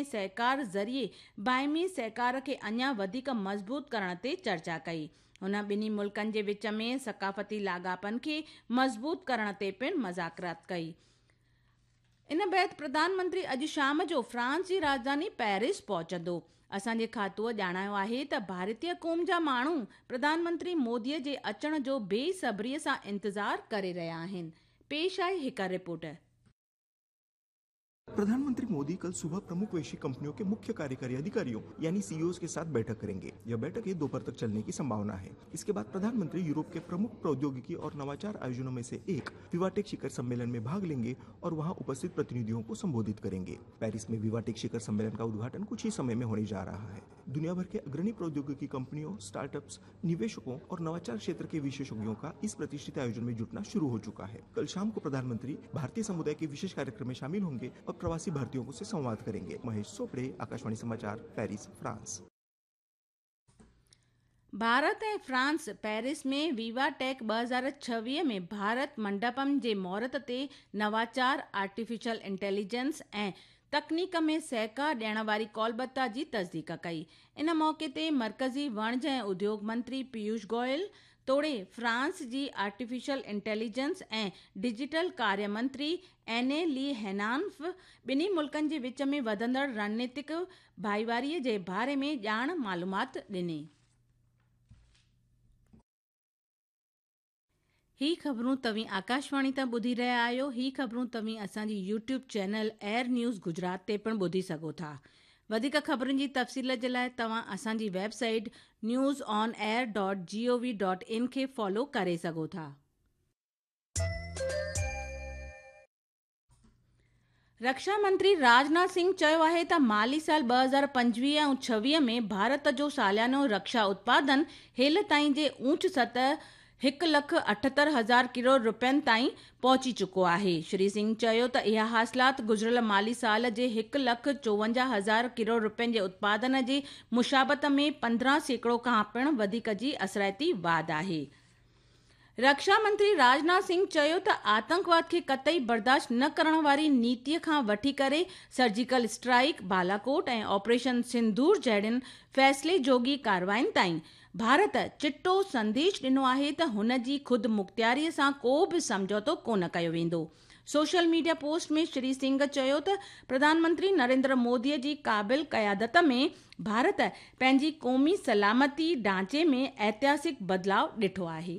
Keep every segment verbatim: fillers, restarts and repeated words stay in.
سهڪار ذريعي باهمي سهڪار کي اڃا وڌيڪ مضبوط ڪرڻ تي چرچا ڪئي. هن ٻنهي ملڪن جي وچ ۾ ثقافتي لاڳاپن کي مضبوط ڪرڻ تي پڻ مذاڪرات ڪئي. ان بعد پرڌان منتري اڄ شام جو فرانس جي راڄڌاني پيرس پهچندو. اسان جي کاتوءَ ڄاڻايو آهي ته ڀارتيه قوم جا ماڻهو پرڌان منتري موديءَ جي اچڻ جو بيصبريءَ سان انتظار ڪري رهيا آهن. پيش آهي هڪ رپورٽ. प्रधानमंत्री मोदी कल सुबह प्रमुख वैश्विक कंपनियों के मुख्य कार्यकारी अधिकारियों यानी सीईओ के साथ बैठक करेंगे। यह बैठक ये दोपहर तक चलने की संभावना है। इसके बाद प्रधानमंत्री यूरोप के प्रमुख प्रौद्योगिकी और नवाचार आयोजनों में से एक विवाटेक शिखर सम्मेलन में भाग लेंगे और वहां उपस्थित प्रतिनिधियों को संबोधित करेंगे। पेरिस में विवाटेक शिखर सम्मेलन का उद्घाटन कुछ ही समय में होने जा रहा है। दुनिया भर के अग्रणी प्रौद्योगिकी कंपनियों, स्टार्टअप्स, निवेशकों और नवाचार क्षेत्र के विशेषज्ञों का इस प्रतिष्ठित आयोजन में जुटना शुरू हो चुका है। कल शाम को प्रधानमंत्री भारतीय समुदाय के विशेष कार्यक्रम में शामिल होंगे और प्रवासी भारतीयों से संवाद करेंगे। महेश सोपड़े, आकाशवाणी समाचार, पेरिस, फ्रांस। भारत ऐं फ्रांस पेरिस में वीवा टेक ٻه هزار ڇويهه ۾ ڀارت منڊپم جي مهورت تي نواچار، آرٽيفيشل انٽيليجنس ऐं तकनीक में सहकार ॾियण वारी कौलबद्धता जी तस्दीक कई। इन मौक़े ते मर्कज़ी वणज ऐं उद्योग मंत्री पीयूष गोयल तोड़े फ्रांस जी आर्टिफिशियल इंटेलिजेंस ऐं डिजिटल कार्य मंत्री एने ली हेनान्फ ॿिन्ही मुल्कनि जे विच में वधंदड़ रणनीतिक भाईवारीअ जे बारे में ॼाण मालूमात ॾिनी। ही ख़बरूं तव्हीं आकाशवाणी तां ॿुधी रहिया आहियो। ही ख़बरूं तव्हीं असांजी YouTube channel air news Gujarat ते पिणु ॿुधी सघो था। वधीक ख़बरुनि जी तफ़सील जे लाइ तव्हां असांजी website news on air dot G O V dot in खे फॉलो करे सघो था। रक्षा मंत्री राजनाथ सिंह चयो आहे त माली साल ٻه هزار پنجويهه ऐं ڇويهه में भारत जो सालानो रक्षा उत्पादन हेल ताईं जे ऊंच सतह हिकु लख अठहतरि हज़ार करोड़ रुपयनि ताईं पहुची चुको आहे। श्री सिंह चयो त इहा हासिलात गुज़िरियल माली साल जे हिकु लख चोवंजाह हज़ार करोड़ रुपयनि जे उत्पादन जी मुशाबत में पंद्रहं सैकड़ो खां पिणु वधीक जी असराइती वाध आहे। रक्षा मंत्री राजनाथ सिंह चयो त आतंकवाद खे कतई बर्दाश्त न करण वारी नीतीअ खां वठी करे सर्जिकल स्ट्राइक, बालाकोट ऐं ऑपरेशन सिंदूर जहिड़ियुनि फ़ैसिले जोगी कार्रवाइयुनि ताईं भारत चिटो संदेश ॾिनो आहे त हुन जी ख़ुदि मुख़्तियारीअ सां को बि सम्झौतो कोन कयो वेंदो। सोशल मीडिया पोस्ट में श्री सिंह चयो त प्रधानमंत्री नरेंद्र मोदीअ जी क़ाबिल क़यादत में भारत पंहिंजी क़ौमी सलामती ढांचे में ऐतिहासिक बदिलाव ॾिठो आहे।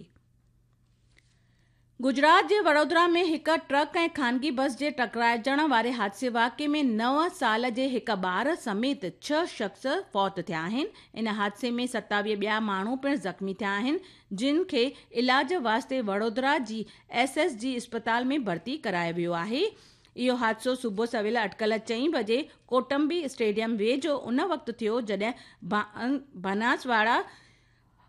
गुजरात जे वडोदरा में हिकु ट्रक ऐं खानगी बस जे टकराइजण वारे हादसे वाक़िए में नव साल जे हिकु ॿार समेत छह शख़्स फौत थिया आहिनि। इन हादसे में सतावीह ॿिया माण्हू पिणु ज़ख़्मी थिया आहिनि, जिन खे इलाज वास्ते Vadodara G S S G अस्पताल में भर्ती करायो वियो आहे। इहो हादसो सुबुह सवेल अटकल चई बजे कोटंबी स्टेडियम वेझो उन वक़्तु थियो जॾहिं बनासवाड़ा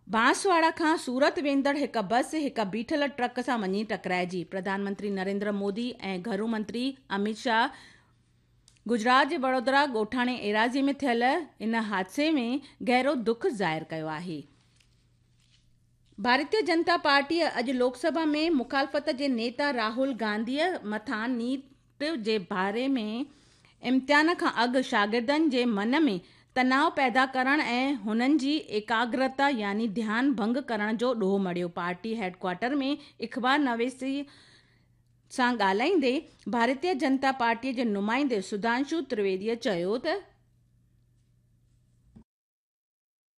बांसवाड़ा खां सूरत वेंदड़ हिकु बस हिकु बीठल ट्रक सां वञी टकराइजी। प्रधानमंत्री नरेंद्र मोदी ऐं घरू मंत्री अमित शाह गुजरात जे वडोदरा ॻोठाणे एराज़ी में थियल इन हादसे में गहरो दुख ज़ाहिर कयो आहे। भारतीय जनता पार्टीअ अॼु लोकसभा में मुखालफ़त जे नेता राहुल गांधीअ मथां नीट जे बारे में इम्तिहान खां अॻु शागिर्दनि जे मन में तनाव पैदा करण ऐं हुननि जी एकाग्रता यानी ध्यान भंग करण जो ॾोह मढ़ियो। पार्टी हेडक्वार्टर में अख़बार नवेसी सां ॻाल्हाईंदे भारतीय जनता पार्टीअ जे नुमाइंदे सुधांशु त्रिवेदीअ चयो त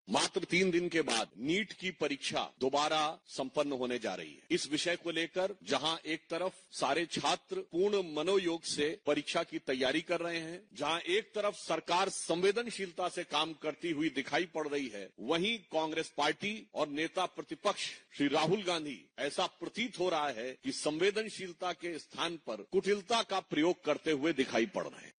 मात्र तीन दिन के बाद नीट की परीक्षा दोबारा संपन्न होने जा रही है। इस विषय को लेकर जहां एक तरफ सारे छात्र पूर्ण मनोयोग से परीक्षा की तैयारी कर रहे हैं, जहां एक तरफ सरकार संवेदनशीलता से काम करती हुई दिखाई पड़ रही है, वहीं कांग्रेस पार्टी और नेता प्रतिपक्ष श्री राहुल गांधी ऐसा प्रतीत हो रहा है कि संवेदनशीलता के स्थान पर कुटिलता का प्रयोग करते हुए दिखाई पड़ रहे हैं।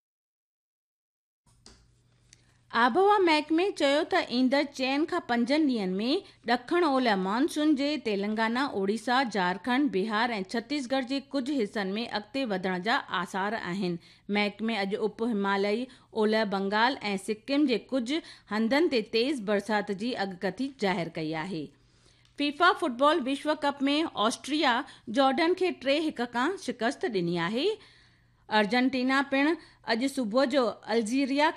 आबहवा महकमे चयो त ईंदड़ चइनि खां पंजनि ॾींहंनि में ॾखण ओलह मानसून जे तेलंगाना, ओडिशा, झारखंड, बिहार ऐं छत्तीसगढ़ जे कुझु हिसनि में अॻिते वधण जा आसार आहिनि। महकमे अॼु उप हिमालयी ओलह बंगाल ऐं सिक्किम जे कुझु हंधनि ते तेज़ बरसाति जी अॻकथी ज़ाहिर कई आहे। फीफा फुटबॉल विश्व कप में ऑस्ट्रिया जॉर्डन खे टे हिकु खां शिकस्त ॾिनी आहे। अर्जेंटीना पिणु अॼु सुबुह जो अल्जीरिया खे